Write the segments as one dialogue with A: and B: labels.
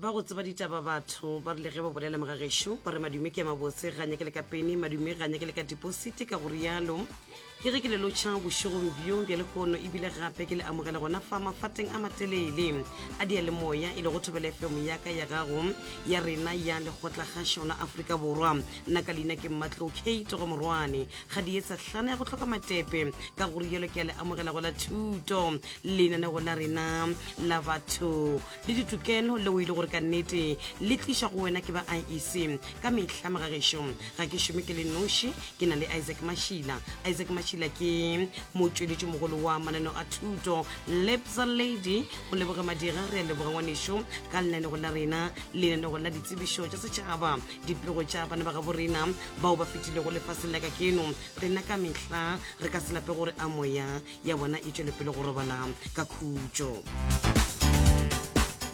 A: Ba go tseba ditaba batho ba rile ge ba bolela mogagešo ba re madume ke a mabotse ga nyake le ka peni, madume ga nyake le ka deposite. Ka go rialo ke ge ke le lotšha bošegong bjo bja lehono ebile gape ke le amogela gona fa mafateng a matelele a diyalemoya e lego Thobela FM ya ka ya gago ya rena ya Lekgotlakgašo la Afrika Borwa. Nna ka leina ke Mmatlou Kate go Morwane ga di etsa hlana ya go hloka matepe. Ka go rialo ke a le amogela go la thuto lenanego la rena la batho le ditokelo leo e le gore ka nnete le tlišwa go wena ke ba IEC ka mehla. Mogagešo ga ke šome ke le noši, ke na le Isaac Mashila. Isaac Mashila ke motšweletši mogolo wa mananeo a thuto Lebza Lady. Go leboge madira, re a leboga ngwanešo ka lenanego la rena, lenanego la ditsebišo tša setšhaba, dipego tša bana ba gabo rena bao ba fetilego lefaseng la kakeno. Rena ka mehla re ka se lape gore a moya ya bona e tšwele pele go robala ka khutšo.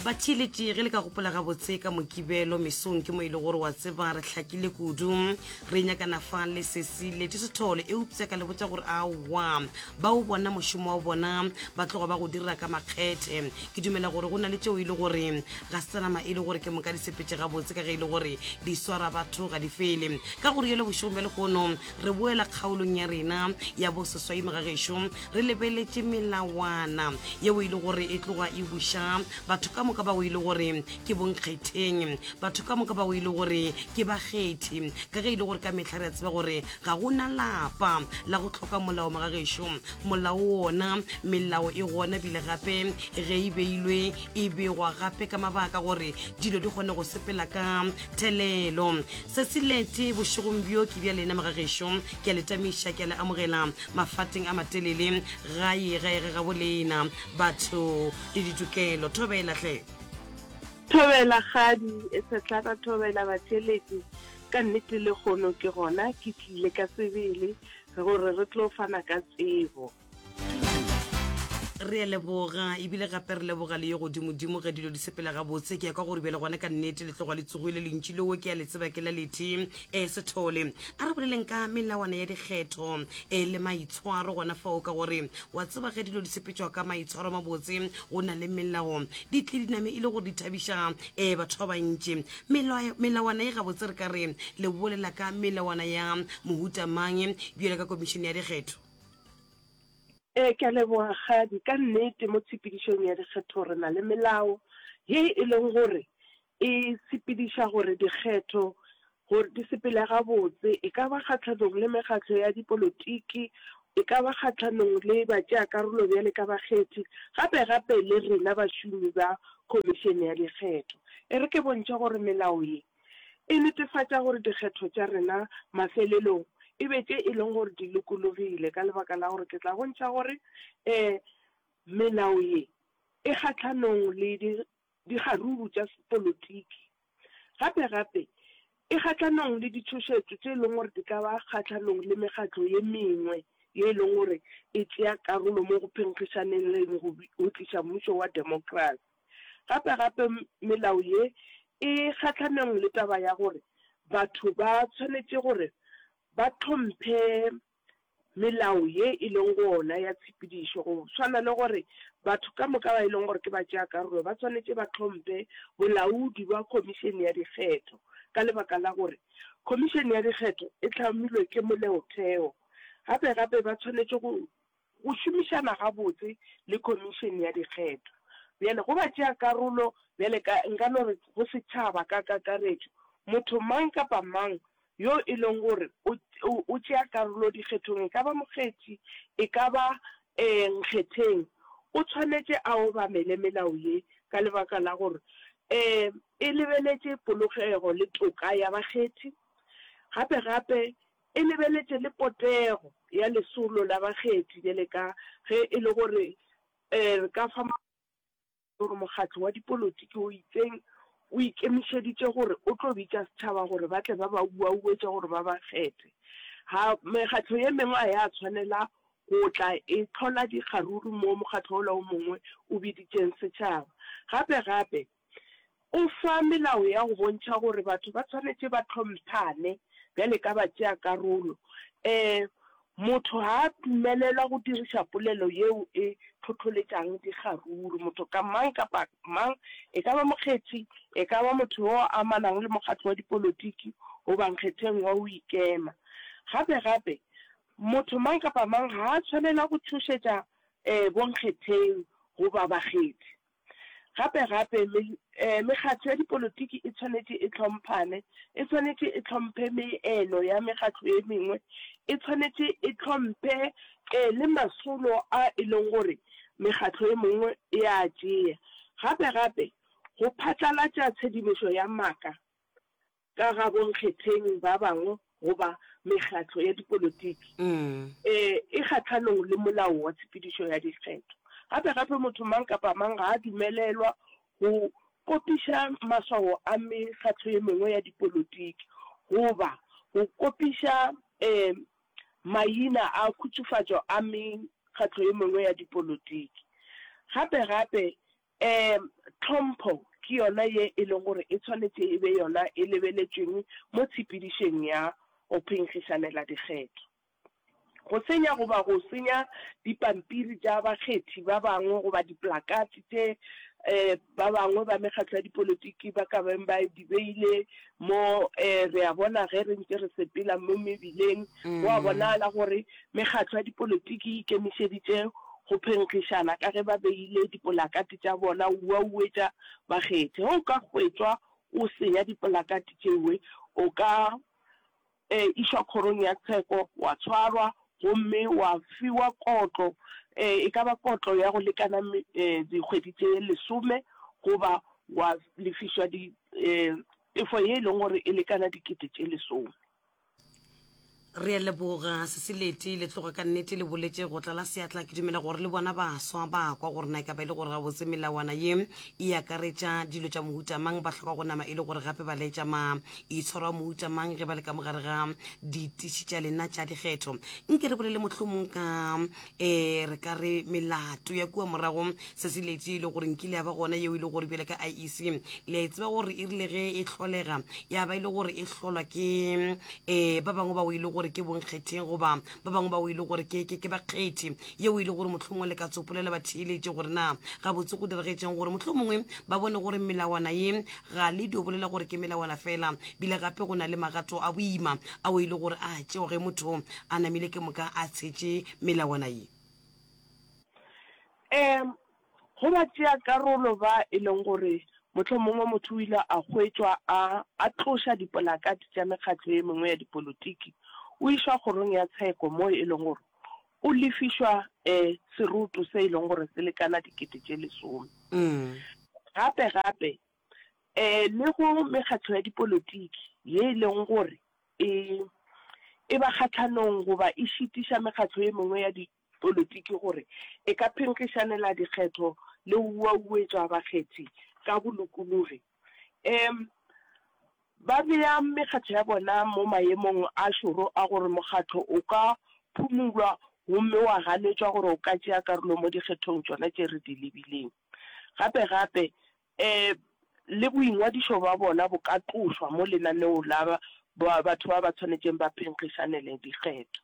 A: Batheeletši, ge le ka gopola gabotse ka Mokibelo mesong ke mo e le gore wa tseba re hlakile kudu, re nyakana fa le sesi leti sethole, eupša ka le botša gore aowa ba o bona mošomo wa bona ba tloga ba go dira ka makgethe. Ke dumela gore go na le tšeo e le gore ga se tsa nama e le gore ke moka di sepetše gabotse ka ge e le gore di swara batho ga di fele. Ka go rialo bošegong bja lehono Re boela kgaolong ya rena ya boseswai mogagešo, re lebeletše melawana yeo e le gore e tloga e buša batho ka moka bao e le gore ke bonkgetheng, batho ka moka bao e le gore ke bakgethi, ka ge e le gore ka mehla re a tseba gore ga go na lapa la go hloka molao mogagešo. Molao wona, melao e gona bile gape ge e beilwe e begwa gape ka mabaka gore dilo di kgone go sepela ka thelelo. Sesilete bošegong bjo ke bja lena mogagešo, ke a le tamiša, ke a le amogela mafateng a matelele gae gae ge gabo lena batho le ditokelo. Thobela hle.
B: Thobela kgadi e sehlana thobela batheeletši ka nnete lehono ke gona ke tlile ka sebele gore re tlo fana ka tsebo.
A: Re a leboga ebile gape re leboga le yo godimodimo ge dilo di sepela gabotse. Ke ya kwa gore bjale gona ka nnete le tloga le tsogile lentši leo ke a le tseba ke la lethe e Sethole. A re boleleng ka melawana ya dikgetho e le maitshwaro gona fao, ka gore wa tseba ge dilo di sepetšwa ka maitshwaro mabotse go na le melao di tle di name e le gore di thabiša e batho ba bantši. Melawana e gabotse re ka re le bolela ka melawana ya mohuta mang bjalo ka komišene ya dikgetho?
B: Ee, ke a leboga Kgadi. Ka nnete mo tshepedišong ya dikgetho re na le melao ye e leng gore e sepediša gore dikgetho gore di sepele gabotse, e ka ba kgahlanong le mekgatlo ya dipolotiki, e ka ba kgahlanong le batšeakarolo bjale ka bakgethi, gape gape le rena bašomi ba Khomišene ya Dikgetho. E re ke bontšhe gore melao ye E netefatša gore dikgetho tša rena mafelelong e be tše e leng gore di lokologile ka lebaka la gore ke tla bontšha gore um melao ye e kgahlanong le dikgaruru tša sepolotiki. Gape gape e kgahlanong le ditšhošetšo tše e leng gore di ka ba kgahlanong le mekgatlo ye mengwe ye e leng gore e tšea karolo mo go phenkgišaneng le go tliša mmušo wa demokrasi. Gape gape melao ye e kgahlanong le taba ya gore batho ba tshwanetše gore ba hlomphe melao ye e leng gona ya tshepedišo, go swana le gore batho ka moka ba e leng gore ke batšeakarolo ba swanetše ba hlomphe bolaodi bja Khomišene ya Dikgetho ka lebaka la gore Khomišene ya Dikgetho e hlamilwe ke Moleotheo. Gape gape ba tshwanetše go Go šomišana gabotse le Khomišene ya Dikgetho bjale go batšeakarolo bjale ka, nka no re go setšhaba ka kakaretšo, motho mang kapa mang yo e leng gore o, o, o tšea karolo dikgethong, e ka ba mokgethi, e ka ba um nkgetheng, o tshwanetše a obamele melao ye ka lebaka la gore um e lebeletše polokego le toka ya bakgethi. Gape gape E lebeletše le potego ya lesolo la bakgethi bjale ka ge e le gore re ka fa gore mokgatlo wa dipolotiki o itseng o ikemišeditše gore o tlo bitša setšhaba gore ba tle ba ba uauetše gore ba ba kgethe. Ga mekgatlo ye mengwe ga ya tshwanela go tla e hlola dikgaruru mo mokgatlo wola o mongwe o biditšeng setšhaba. Gape gape O fa melao ya go bontšha gore batho ba tshwanetše ba hlomphane bjale ka batšeakarolo. Um. Motho ga a dumelelwa go diriša polelo yeo e hlohloletšang dikgaruru. Motho ka mang kapa mang, e ka ba mokgethi, e ka ba motho yo a amanang le mokgatlo wa dipolotiki goba nkgetheng wa go ikema. Gape-gape, motho mang kapa mang ga a tshwanela go tšhošetša bonkgetheng goba bakgethi. Gape-gape, mekgatlo ya dipolotiki e tshwanetše e hlomphane, e tshwanetše e hlomphe meelo ya mekgatlo e mengwe, e tshwanetše e hlomphe le masolo a e leng gore mekgatlo e mengwe e a tšea. Gape-gape, go phatlalatša tshedimošo ya maaka ka ga bonkgetheng ba bangwe goba mekgatlo ya dipolotiki e kgahlanong le molao wa tshepedišo ya dikgetho. Gape-gape motho mang kapa mang ga a dumelelwa go kopiša maswao a mekgatlo ye mengwe ya dipolotiki goba go kopiša maina a khutsofatšo a mekgatlo ye mengwe ya dipolotiki. Gape-gape Ee, tlhompho ke yona ye e leng gore e tshwanetše e be yona e lebeletšweng mo tshepedišong ya go phenkgišanela dikgetho. Go senya goba go senya dipampiri tša bakgethi ba bangwe goba diplakate tše ba bangwe ba mekgatlo ya dipolotiki ba ka beng ba di beile mo, re a bona ge re ntše re sepela mo mebileng, go a bonala gore Mekgatlo ya dipolotiki e ikemišeditše go phenkgišana ka ge ba beile dipolakate tša bona uauetša bakgethi. Ge o ka hwetšwa o senya dipolakate tšewe, o ka išwa kgorong ya tsheko, wa tshwarwa gomme wa fiwa kotlo, e ka ba kotlo ya go lekana dikgwedi tše lesome goba wa lefišwa tefo ye e leng gore e lekana dikete tše lesome.
A: Re a leboga Sesileti, le tloga ka nnete le boletše go tlala seatla. Ke dumela gore le bona baswa ba kwa gore na e ka ba e le gore gabotse melawana ye e akaretša dilo tša mohuta mang, ba hloka go nama e le gore gape ba laetša maitshwaro a mohuta mang ge ba le ka mogare ga ditiši tša lena tša dikgetho. Nke re bolele mohlomong ka um re ka re melato ya kua morago Sesileti e le gore nkile ya ba gona yeo e le gore bjale ka IEC le a e tseba gore e rile ge e hlolega ya ba e le gore e hlolwa ke um ba bangwe bao e le gore ke bonkgetheng goba ba bangwe bao e le gore ke ke ke bakgethi yeo e le gore mohlomongwe le ka tsopolela batheeletše gore na gabotse go diragetšeng gore mohlomongwe ba bone gore melawana ye ga le dio bolela gore ke melawana fela bile gape go na le magato a boima ao e le gore a tšeo ge motho a namile ke moka a tshetše melawana ye.
B: Um Go batšeakarolo ba e leng gore mohlomongwe motho o ile a hwetšwa a a tloša dipolakate tša mekgatlo ye mengwe ya dipolotiki, o išwa kgorong ya tsheko moo e leng gore o lefišwa um seroto se e leng gore se lekana dikete tše lesome. Gape gape um le go mekgatlo ya dipolotiki ye e leng gore e e ba kgahlanong goba e šitiša mekgatlo ye mengwe ya politiki gore e ka phenkgišanela dikgetho le go uauetšwa bakgethi ka bolokologi. Um Ba bea mekgatlo ya bona mo maemong a šoro a gore mokgatlo o ka phumulwa gomme wa ganetšwa gore o ka tšea karolo mo dikgethong tšona tše re di lebileng. Gape-gape, um le boingwadišo bja bona bo ka tlošwa mo lenaneong la batho ba ba tshwanetšeng ba phenkgišanele dikgetho.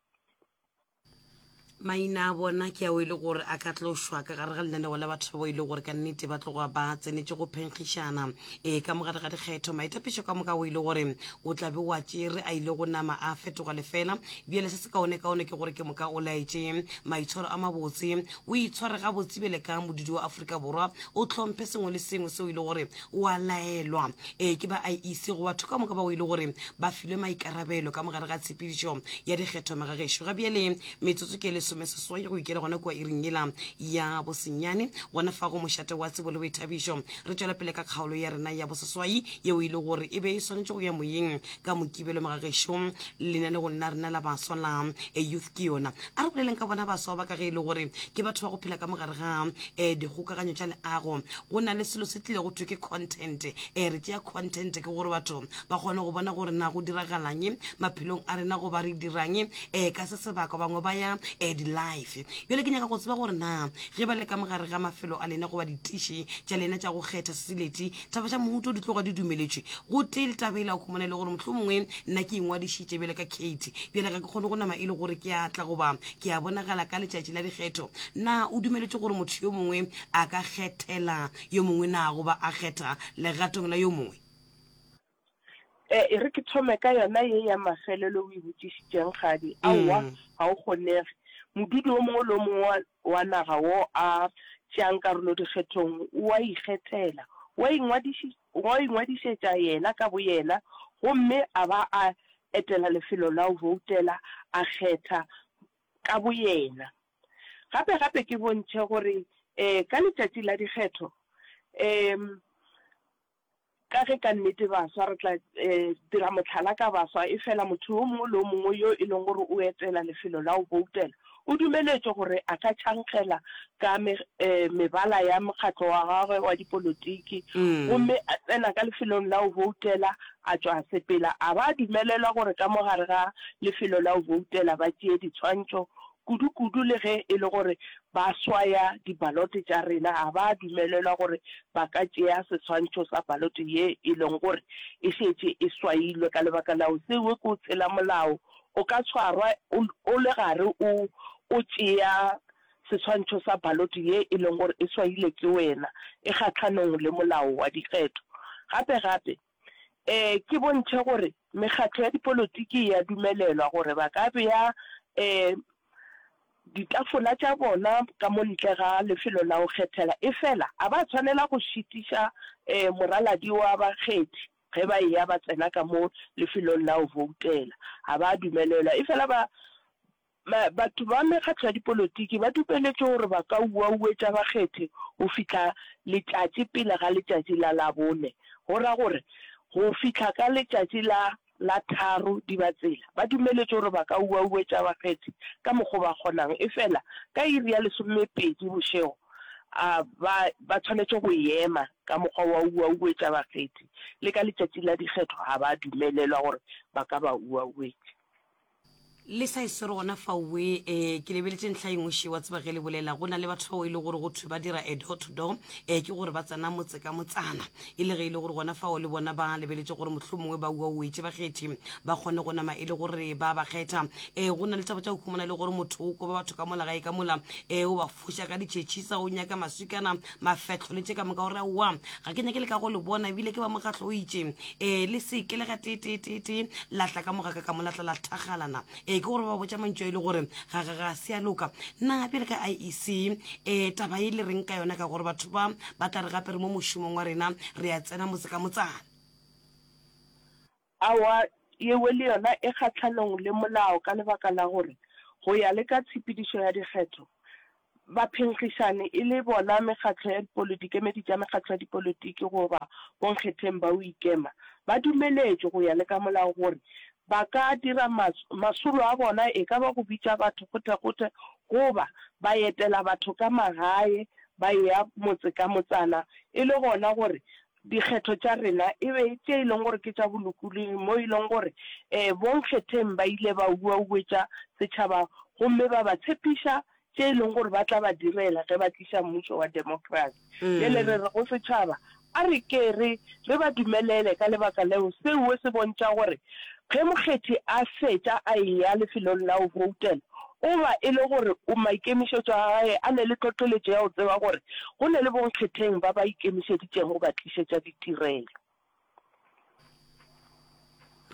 A: Maina a bona ke ao e le gore a ka tlošwa ka gare ga lenaneo la batho bao e le gore ka nnete ba tloga ba tsenetše go phenkgišana e ka mogare ga dikgetho. Maitapišo ka moka o e le gore o tla be wa tšere a ile go nama a fetoga lefela. Bjale se se kaonekaone ke gore ke moka o laetše maitshwaro a mabotse, o itshware gabotse bjale ka modudi wa Afrika Borwa, o hlomphe sengwe le sengwe seo e le gore o a laelwa e ke ba IEC go batho ka moka bao e le gore ba filwe maikarabelo ka mogare ga tshepedišo ya dikgetho magagešo. Ga bjale metsotso ke lesomeseswai go ikela gona kua iring yela ya bosenyane gona fa go mošate wa tsebo le boithabišo. Re tšwela pele ka kgaolo ya rena ya boseswai yeo e le gore e be e swanetše go ya moyeng ka Mokibelo magagešo. Lenanegong la rena la baswa la Youth ke yona. A re boleleng ka bona baswa ba ka ge e le gore ke batho ba go phela ka mogare ga um dikgokaganyo tša leago. Go na le selo se tlile go thwe ke content. Um re tšea content ke gore batho ba kgone go bona gore na go diragalang maphelong a rena goba re dirang um ka se sebaka. Bangwe ba ya um di-life. Bjale ke nyaka go tseba gore na ge ba le ka mogare ga mafelo a lena goba ditiši tša lena tša go kgetha sesileti, taba tša mohuto di tloga di dumeletšwe gotee le taba e la go khumana e le gore mohlomongwe nna ke ingwadišitše bjale ka Kate, bjale ga ke kgone go nama e le gore ke a tla goba ke a bonagala ka letšatši la dikgetho. Na o dumeletše gore motho yo mongwe a ka kgethela yo mongwe na goba a kgetha legatong la yo mongwe?
B: E, e re ke thome ka yona ye ya mafelelo o e botšišitšeng, Kgadi. Aowa, ga o kgonege. Modudi o mongwe le o mongwe wa, wa naga wo a tšeang karolo dikgethong o a ikgethela. O a ingwadiši, o a ingwadišetša yena ka boyena gomme a ba a etela lefelo la go boutela, a kgetha ka boyena. Gape, gape ke bontšhe gore, e, ka letšatši la dikgetho, e, Ka ge ka nnete baswa re tla dira mohlala ka baswa, efela motho yo mongwe le yo mongwe yo e leng gore o etela lefelo la go boutela o dumeletšwe gore a ka tšhankgela ka mebala ya mokgatlo wa gagwe wa dipolotiki gomme a tsena ka lefelong la go boutela a tšwa a sepela. A ba dumelelwa gore ka mo gare ga lefelo la go boutela ba tšee ditshwantšho kudu-kudu le ge e le gore ba swaya dibalote tša rena, ga ba dumelelwa gore ba ka tšea seswantšho sa balote ye e leng gore e šetše e swailwe ka lebaka la go se we ke o tshela molao. O ka tshwarwa o le gare o o tšea seswantšho sa balote ye e leng gore e swaile ke wena, e kgahlanong le molao wa dikgetho. Gape-gape, E, ke bontšhe gore mekgatlo ya dipolotiki e a dumelelwa gore ba ka bea e, ditafola tša bona ka mo ntle ga lefelo la go kgethela, efela ga ba tshwanela go šitiša e, moraladi wa bakgethi ge ba eya ba tsena ka mo lefelong la go boutela. Ga ba dumelelwa. Efela ba Batho ba mekgatlo ya dipolotiki ba dupeletšwe gore ba ka uauetša bakgethi go fihla letšatši pele ga letšatši la Labone, go ra gore go fihla ka letšatši la la tharo Dibatsela. Ba dumeletšwe gore ba ka uauetša bakgethi ka mokgo ba kgonang, efela ka iri ya lesomepedi bošego a ba ba tshwanetše go ema ka mokgwa wa uauetša bakgethi, le ka letšatši la dikgetho ga ba dumelelwa gore ba ka ba uauetša.
A: Le sa e swere gona faowe. E, ke lebeletše ntlha e nngwe še, wa tseba ge le bolela, go na le batho bao e le gore go thwe ba dira a door to door, e, ke gore ba tsena motse ka motsana, e le ge e le gore gona fao le bona ba lebeletše gore mohlomongwe ba uauetše bakgethi ba kgone go nama e le gore ba ba kgetha. E, go na le taba tša go humana e le gore motho o koba batho ka mola gae ka mola, e, o ba foša ka ditšhetšhisa, o nyaka maswikana, mafehlo le tše ka moka, gore aowa ga ke nyake le ka go le bona, ebile ke ba mokgatlo o itše, e le se ke le ga teteetee la tla ka mogaka ka molatla la thagalana. E ke gore ba botša mantšu a e le gore ga ga ga se a loka. Na bjale ka IEC e taba e le reng ka yona, ka gore batho ba ba tla re gape re mo mošomong wa rena re a tsena motse ka motsana?
B: Aowa, yewe le yona e kgahlanong le molao ka lebaka la gore go ya le ka tshepedišo ya dikgetho, baphenkgišani e le bona mekgatlo ya dipolo, dikemedi tša mekgatlo ya dipolotiki goba bonkgetheng ba go ikema, ba dumeletšwe go ya le ka molao gore ba ka dira masolo a bona, e ka ba go bitša batho kgothekgothe goba ba etela batho ka magae ba eya motse ka motsana e le gona gore Dikgetho tša rena e be tše e leng gore ke tša bolokologi mo e leng gore bonkgetheng ba ile ba uauetša setšhaba gomme ba ba tshepiša tše e leng gore ba tla ba direla ge ba tliša mmušo wa demokrasi. Bjale re re go setšhaba, a re ke re re ba dumelele ka lebaka leo seo se bontša gore Ge mokgethi a fetša a eya lefelong la go boutela, o ba e le gore o maikemišetšo a gae a ne le tlotloletšo ya go tseba gore go ne le bonkgetheng ba ba ikemišeditšego go ba tlišetša ditirelo.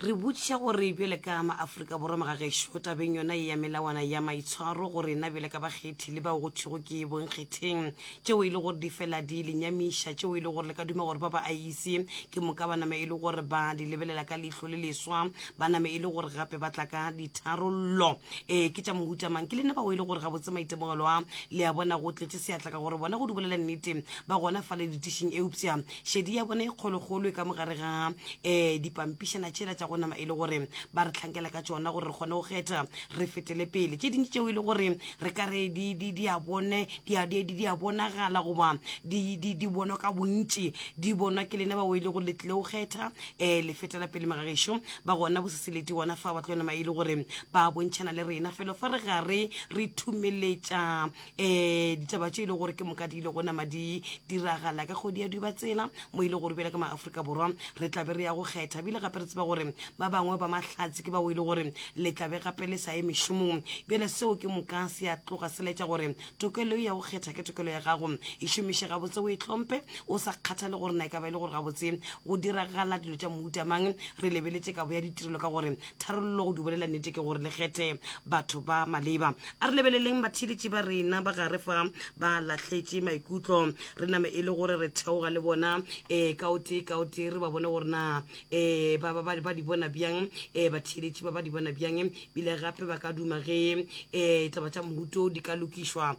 A: Re botšiša gore bjale ka maAfrika Borwa magagešo tabeng yona ye ya melawana ya maitshwaro go rena bjale ka bakgethi le bao go thwego ke bonkgetheng, tšeo e le gore di fela di le nyamiša, tšeo e le gore le ka duma gore ba ba IEC ke moka ba name e le gore ba di lebelela ka leihlo le leswa, ba name e le gore gape ba tla ka ditharollo. Ee, ke tša mohuta mang? Ke lena bao e le gore gabotse maitemogelo a le a bona go tletše seatla ka gore bona go di bolela nnete ba gona fale ditišing, eupša šedi ya bona e kgolokgolo e ka mogare ga um dipampišana tšela tša go. go nama e le gore ba re hlankela ka tšona gore re kgone go kgetha re fetele pele. Tše dintši tšeo e le gore re ka re di, di, di a bone, di a, di, di a bonagala goba di, di, di bonwa ka bontši, di bonwa ke lena bao e le gore le tlile go kgetha um le fetela pele magagešo ba gona boseseleti gona fa ba tlo nama e le gore ba bontšhana le rena felo fa re gare re thumeletša um ditaba tše e le gore ke moka di ile go nama di diragala ka kgwedi ya Dubatsela mo e le gore bjale ka maafrika Borwa re tlabe re ya go kgetha bile gape re tseba gore ba bangwe ba mahlatse ke bao e le gore le tlabe gape le sa ye mešomong bjale seo ke moka se a tloga se laetša gore tokelo ya go kgetha ke tokelo ya gago e šomiše gabotse o e tlhomphe o sa kgathale gore na e ka ba e le gore gabotse go diragala dilo tša mohuta mang re lebeletše kabo ya ditirelo ka gore Tharollo go di bolela nnete ke gore le kgethe batho ba maleba. A re lebeleleng batheeletši ba rena ba gare fa ba lahletše maikutlo. Re name e le gore re theoga le bona um ka o tee ka o tee re ba bone gore na um ba, ba, ba, ba di bona bjang um batheeletši ba ba di bona bjang bile gape ba ka duma ge um taba tša mohuto di ka lokišwa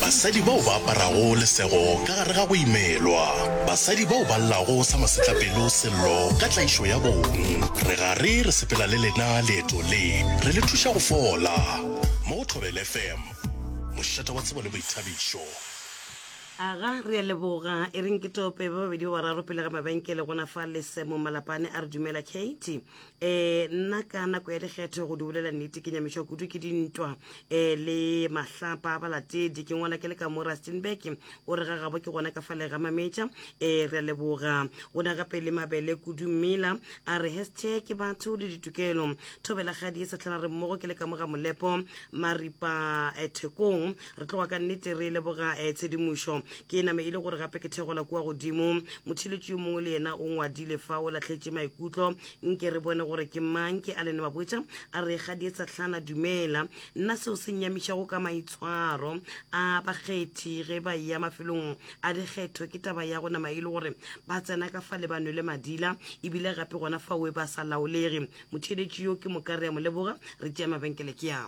C: Basadi bao ba aparago lesego ka gare ga go imelwa. Basadi bao ba llago sa masetlapelo sello ka tlaišo ya bong. Re gare re sepela le lena leeto le, re le thuša go fola. Mo go Thobela FM, mošate wa tsebo le boithabišo.
A: Aga, re a leboga. E reng ke tope ba babedi ba bararo pele ga mabenkele gona fa le Semo Malapane a re dumela Kate. E, nna ka nako ya dikgetho go di bolela nnete ke nyamišwa kudu ke dintwa e, le mahlapa a balatedi. Ke ngwala ke le ka mo Rustenburg, o re ga gabo ke gona ka fale ga Mametša. E, re a leboga. Go na gape le Mabele Kudu Mmila a re hashtag batho le ditokelo. Thobela Kgadi e Sehlana re mmogo ke le ka mo ga Molepo Maripa e, Thekong. Re tloga ka nnete re leboga e, tshedimošo. Ke name e le gore gape ke thegola kua godimo. Motheeletši yo mongwe le yena o ngwadile fa o lahletše maikutlo. Nke re bone gore ke mang. Ke Allen Mabotja a re Kgadietsahlana dumela. Nna seo se nnyamišago ka maitshwaro a bakgethi ge ba eya mafelong a dikgetho ke taba ya go nama e le gore ba tsena ka fa le ba nwele madila ebile gape gona faoe ba sa laolege. Motheeletši yo ke moka re a mo leboga. Re tšea mabenkele ke a.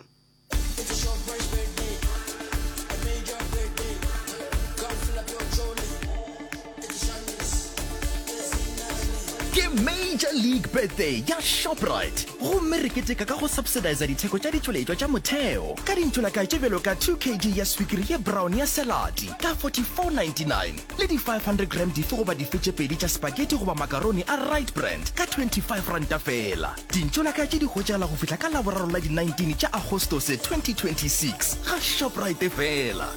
D: Ke Major League Birthday ya Shoprite gomme re keteka ka go subsidiza ditheko tša ditšweletšwa tša motheo ka dintšolakae tše bjalo ka 2 kg ya swikiri ye brown ya selati ka 44.99 le di 500 gram dife goba dife tše pedi tša spaghetti goba makaroni a Rite Brand ka 25 ranta feela. Dintšolaka tše di hwetšagala go fihla ka Laboraro la di 19 tša Agostose 2026 ga Shoprite fela.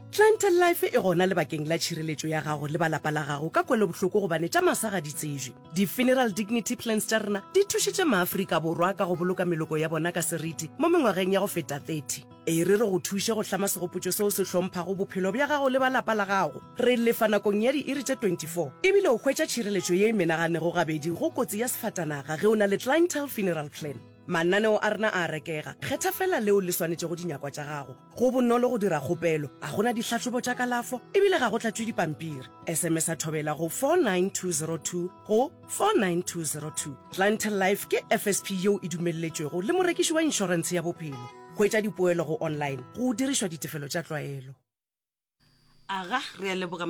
E: Clientele Life e gona lebakeng la tšhireletšo ya gago le ba lapa la gago ka kwelobohloko gobane tša masa ga di tsebje. Di-Funeral Dignity Plans tša rena di thušitše maAfrika Borwa ka go boloka meloko ya bona ka seriti mo mengwageng ya go feta 30. E re re go thuše go hlama segopotšo seo se hlomphago bophelo bja gago le ba lapa la gago. Re lefa nakong ya diiri tše 24, e bile o hwetša tšhireletšo ye e menaganego gabedi go kotsi ya sefatanaga ge o na le Clientele Funeral Plan. Mananeo a rena a a rekega, kgetha feela leo le swanetšego dinyakwa tša gago. Go bonolo go dira kgopelo, ga go na dihlahlobo tša kalafo e bile ga go tlatšwe dipampiri. SMS-a Thobela go 49202 go 49202. Clientele Life ke FSP yeo e dumelletšwego le morekiši wa inšorentshe ya bophelo. Hwetša dipoelo go online go dirišwa ditefelo tša tlwaelo.
A: Aga, re a leboga.